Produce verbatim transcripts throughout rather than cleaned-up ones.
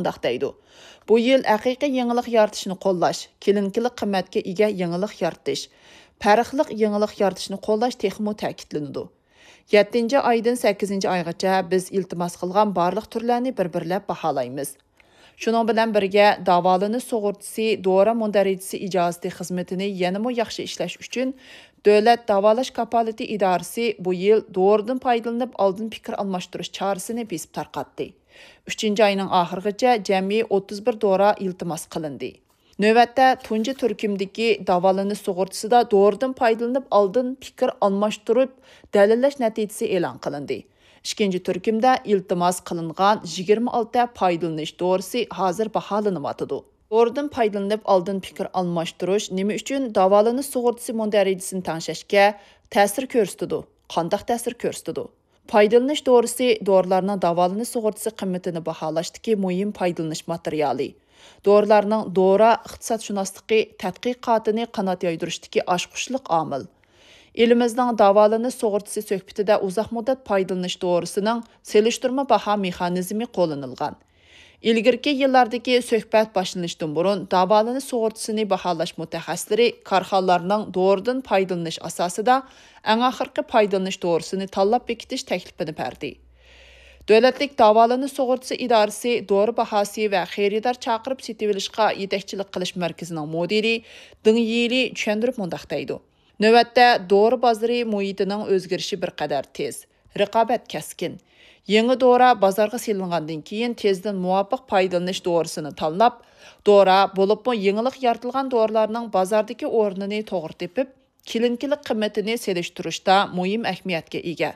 مۇنداق دەيدۇ: بۇ يىل ھەقىقىي يېڭىلىق يارىتىشنى قوللاش، كلىنىكىلىق قىممەتكە ئىگە يېڭىلىق يارىتىش، پەرقلىق يېڭىلىق يارىتىشنى قوللاش تېخىمۇ تەكىتلىنىدۇ. يەتتىنچى ئايدىن سەككىزىنچى ئايغىچە بىز ئىلتىماس قىلغان بارلىق تۈرلەرنى بىر-بىرلەپ باھالايمىز. شۇنىڭ بىلەن بىرگە، داۋالىنىش سۇغۇرتىسى دورا مۇندەرىجىسى ئىجازىتى خىزمىتىنى يەنىمۇ ياخشى ئىشلەش ئۈچۈن، دۆلەت داۋالاش كاپالىتى ئىدارىسى بۇ يىل دورىدىن پايدىلىنىپ ئالدىن پىكىر ئالماشتۇرۇش چارىسىنى بېسىپ تارقاتتى. ئۈچىنچى ئاينىڭ ئاخىرىغىچە جەمئىي ئوتتۇز بىر دورا ئىلتىماس قىلىندى. نۆۋەتتە تۇنجى تۈركۈمدىكى داۋالىنىش سۇغۇرتىسىدا دورىدىن پايدىلىنىپ ئالدىن پىكىر ئالماشتۇرۇپ دەلىللەش نەتىجىسى ئېلان قىلىندى. ئىككىنچى تۈركۈمدە ئىلتىماس قىلىنغان يىگىرمە ئالتە پايدىلىنىش دورىسى ھازىر باھالىنىۋاتىدۇ. دورىدىن پايدىلىنىپ ئالدىن پىكىر ئالماشتۇرۇش نېمە ئۈچۈن داۋالىنىش سۇغۇرتىسى مۇندەرىجىسىنى تەڭشەشكە تەسىر كۆرسىتىدۇ؟ قانداق تەسىر كۆرسىتىدۇ؟ پايدىلىنىش دورىسى دورىلارنىڭ داۋالىنىش سۇغۇرتىسى قىممىتىنى باھالاشتىكى مۇھىم پايدىلىنىش ماتېرىيالى. دورىلارنىڭ دورا ئىقتىسادشۇناسلىقى تەتقىقاتىنى قانات يايدۇرۇشتىكى ئاچقۇچلۇق ئامىل. ئېلىمىزنىڭ داۋالىنىش سۇغۇرتىسى سۆھبىتىدە ئۇزاق مۇددەت پايدىلىنىش دورىسىنىڭ سېلىشتۇرما باھا مېخانىزمى قوللىنىلغان. ئىلگىرىكى يىللاردىكى سۆھبەت باشلىنىشتىن بۇرۇن، داۋالىنىش سۇغۇرتىسىنى باھالاش مۇتەخەسسىسلىرى كارخانىلارنىڭ دورىدىن پايدىلىنىش ئاساسىدا ئەڭ ئاخىرقى پايدىلىنىش دورىسىنى تاللاپ بېكىتىش تەكلىپىنى بەردى. دۆلەتلىك داۋالىنىش سۇغۇرتىسى ئىدارىسى دورا باھاسى ۋە خېرىدار چاقىرىپ سېتىۋېلىشقا يېتەكچىلىك قىلىش مەركىزىنىڭ مۇدىرى دېڭ يىلى چۈشەندۈرۈپ مۇنداق دەيدۇ: نۆۋەتتە دورا بازىرى مۇھىتىنىڭ ئۆزگىرىشى بىر قەدەر تېز، رىقابەت كەسكىن. يېڭى دورا بازارغا سېلىنغاندىن كېيىن، تېزدىن مۇۋاپىق پايدىلىنىش دورىسىنى تاللاپ، دورا، بولۇپمۇ يېڭىلىق يارىتىلغان دورىلارنىڭ بازاردىكى ئورنىنى توغرا تېپىپ، كلىنىكىلىق قىممىتىنى سېلىشتۇرۇشتا مۇھىم ئەھمىيەتكە ئىگە.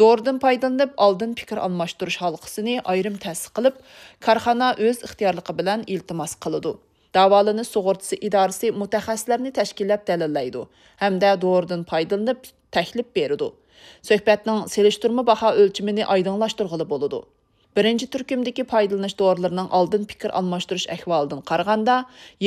دورىدىن پايدىلىنىپ، ئالدىن پىكىر ئالماشتۇرۇش ھالقىسىنى ئايرىم تەسىس قىلىپ، كارخانا ئۆز ئىختىيارلىقى بىلەن ئىلتىماس قىلىدۇ. داۋالىنىش سۇغۇرتىسى ئىدارىسى مۇتەخەسسىسلەرنى تەشكىللەپ دەلىللەيدۇ ھەمدە دورىدىن پايدىلىنىپ تەكلىپ بېرىدۇ. سۆھبەتنىڭ سېلىشتۇرما باھا ئۆلچىمىنى ئايدىڭلاشتۇرغىلى بولىدۇ. بىرىنچى تۈركۈمدىكى پايدىلىنىش دورىلىرىنىڭ ئالدىن پىكىر ئالماشتۇرۇش ئەھۋالىدىن قارىغاندا،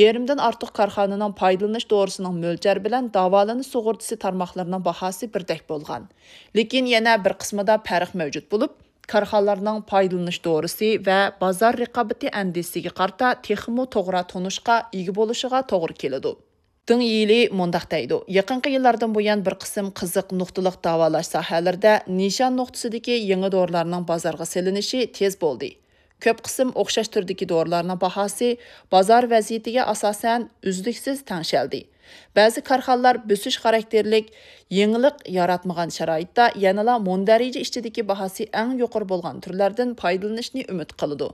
يېرىمدىن ئارتۇق كارخانىنىڭ پايدىلىنىش دورىسىنىڭ مۆلچەر بىلەن داۋالىنىش سۇغۇرتىسى تارماقلىرىنىڭ باھاسى بىردەك بولغان. لېكىن يەنە بىر قىسمىدا پەرق مەۋجۇت بولۇپ، كارخانىلارنىڭ پايدىلىنىش دورىسى ۋە بازار رىقابىتى ئەندىزىسىگە قارىتا تېخىمۇ توغرا تونۇشقا ئىگە بولۇشىغا توغرا كېلىدۇ. دېڭ يىلى مۇنداق دەيدۇ: يېقىنقى يىللاردىن بۇيان، بىر قىسىم قىزىق نۇقتىلىق داۋالاش ساھەلىرىدە نىشان نۇقتىسىدىكى يېڭى دورىلارنىڭ بازارغا سېلىنىشى تېز بولدى. كۆپ قىسىم ئوخشاش تۈردىكى دورىلارنىڭ باھاسى بازار ۋەزىيىتىگە ئاساسەن ئۈزلۈكسىز تەڭشەلدى. بەزى كارخانىلار بۆسۈش خاراكتېرلىك يېڭىلىق ياراتمىغان شارائىتتا يەنىلا مۇندەرىجە ئىچىدىكى باھاسى ئەڭ يۇقىرى بولغان تۈرلەردىن پايدىلىنىشنى ئۈمىد قىلىدۇ.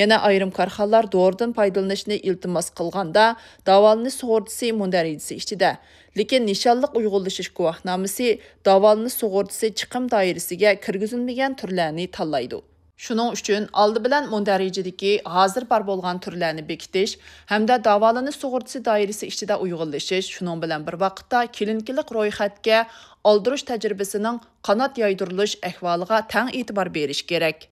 يەنە ئايرىم كارخانىلار دورىدىن پايدىلىنىشنى ئىلتىماس قىلغاندا، داۋالىنىش سۇغۇرتىسى مۇندەرىجىسى ئىچىدە، لېكىن نىشانلىق ئۇيغۇنلىشىش گۇۋاھنامىسى داۋالىنىش سۇغۇرتىسى چىقىم دائىرىسىگە كىرگۈزۈلمىگەن تۈرلەرنى تاللايدۇ. شۇنىڭ ئۈچۈن ئالدى بىلەن مۇندەرىجىدىكى ھازىر بار بولغان تۈرلەرنى بېكىتىش ھەمدە داۋالىنىش سۇغۇرتىسى دائىرىسى ئىچىدە ئۇيغۇنلىشىش، شۇنىڭ بىلەن بىر ۋاقىتتا كلىنىكىلىق رويخەتكە ئالدۇرۇش تەجرىبىسىنىڭ قانات يايدۇرۇلۇش ئەھۋالىغا تەڭ ئېتىبار بېرىش كېرەك.